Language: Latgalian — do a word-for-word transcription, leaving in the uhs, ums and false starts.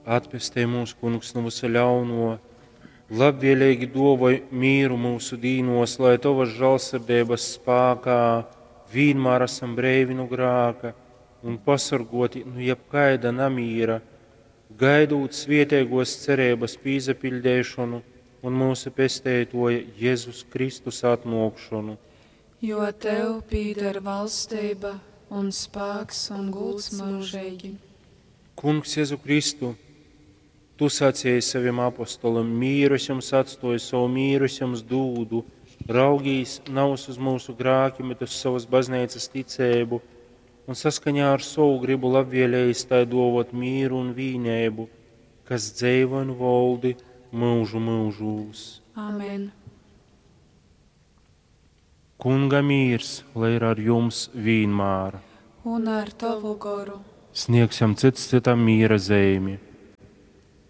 Atpestej mūs, Kungs, nu vysa ļaunuo, labvieleigi duovoj mīru myusu dīnuos, lai Tovas žālsirdeibas spākā vīnmār asam breivi nu grāka un pasorguoti nu jebkaida namīra, gaidūt svieteiguos cereibys pīsapiļdeišonu un myusu Pesteituoja Jezus Kristus atnuokšonu. Jo tev pīder valstība un spāks un gūds myužīgi. Kungs Jezu Kristu, Tu sacēji savim apostolim, mīru es jums atstoju, savu mīru es jums dūdu, raugīs navys uz mūsu grākim, bet uz savas bazneicas ticēbu, un saskaņā ar savu gribu labvēlējis tai dovot mīru un vīneibu, kas dzeivo un voldi mūžu mūžūs. Amen. Kunga mīrs, lai ir ar jums vīnmār. Un ar tavu goru. Sniegsim cits citam mīra zeimi.